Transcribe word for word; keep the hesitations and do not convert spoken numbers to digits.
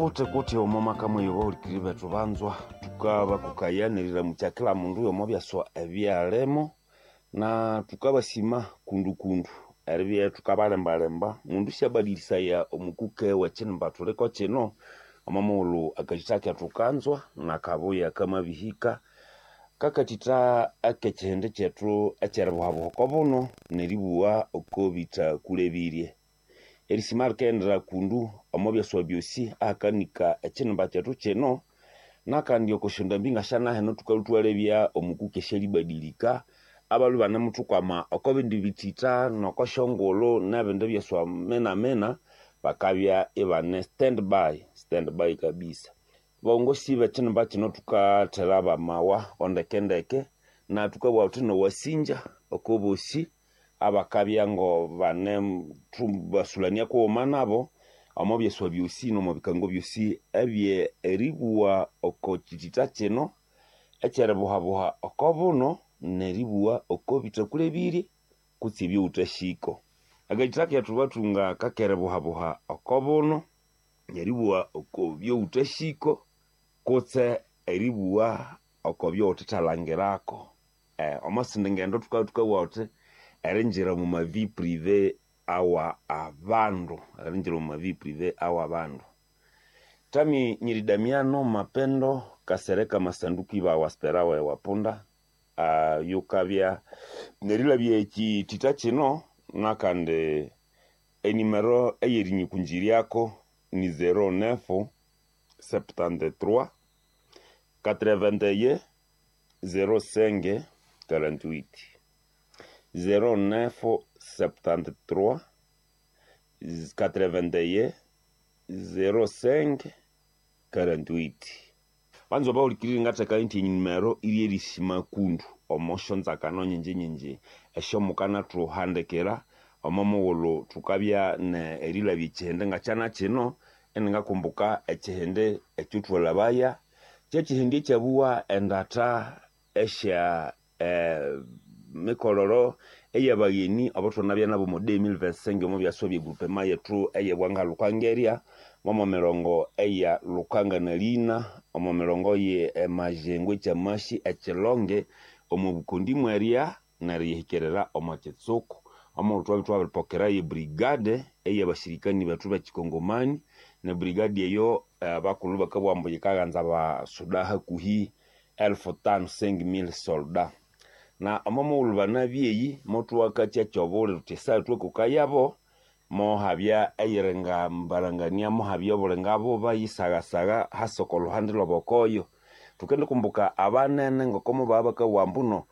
Kuti kuti omo maka mweyo bahulikiriri bethu banzwa tukabakokaya neriramukya kila mundu omo byaswa ebyalimo na tukabasima kundu kundu eribya thukabalembalemba mundu syabadilisaya omukuke wekinimba thuliko kino omo mughulhu akathitha kethu kanzwa nakabuya kamabihika kakathitha akekihindi kyethu ekyeribuhabuha oko buno neribugha oko bithakulebirye. Erisima likaghendera kundu omo byaswa byosi ahakanika ekinimba kyethu kino nakandi oko syondambi ngasyanahino thukalhwa ithwalebya omukuke syalibadilika abalhwe ibanemuthukwama oko bindi bithitha noko syongulhu nebindi byaswa minamina bakabya ibane stand by stand by kabisa. Bongosi bekinimba kino thukathera bamawa ondekendeke na thukabugha thuthi nowasinja oko bosi abakabya ngo bane thubasulania kughuma nabo omo byaswa byosi nomo bikango byosi ebye eribugha oko kithitha kino ekyeribuhabuha oko buno neribugha oko bithakulebirye kutse ebyowuthasiko. Akathitha kethu bathunga kakeribuhabuha oko buno neribugha oko byowuthasiko kutse eribugha oko byowuthethalangirako. Omo sindi ngendo thukabya thukabugha thuthi eringira omo ma vie privée awa abandu eringira omo ma vie privée awa abandu. Tami Nyiri Damiano Mapendo Kasereka Masanduku ibawa Sperawa ewapunda uh, yukabya nerilabya ekithitha kino nakandi enimero eyerinyikunjiryako ni zero neuf septante-trois quatre-vingt-un zéro cinq quarante-huit zéro neuf septante-trois quatre-vingt-un zéro cinq quarante-huit. Banza bahulikirire ngatheka nthi enimero iri erisima kundu omo syonzakano nyingi nyingi esyomukanathuhandikira omo mughulhu thukabya ne erilabya ekihindi ngakyana kino iningakumbuka ekihindi ekyothwalabaya kyekihindi ekyabuwa endatha esya eh, mikololo eyabagheni abathwanabya nabo omo deux mille vingt-cinq omo byaswa bye groupement yethu eyebwanga Lukanga momo mirongo eya Lukanga na Lina omo mirongo ye Emajengo ekyamashi ekilonge omo bukondi mwerya neryihikerera omo kitsuku omo thwabya thwabiripokera ye brigade eyabashirikani bethu bekikongomani ne brigade eyo abakulhu bakabugha ambu yikaghanza abasuda hakuhi elfu tano cinq mille soldats na omo mughulhu banabya eyi mothuwakakya kyobuli thuthi esaha thwakokayabo mohabya eyiringa mbarangania mohabya obulinga buba yisagasagha hasa oko luhande lwabokoyo thukendikumbuka abanene ngoko mubabya bakabugha ambu no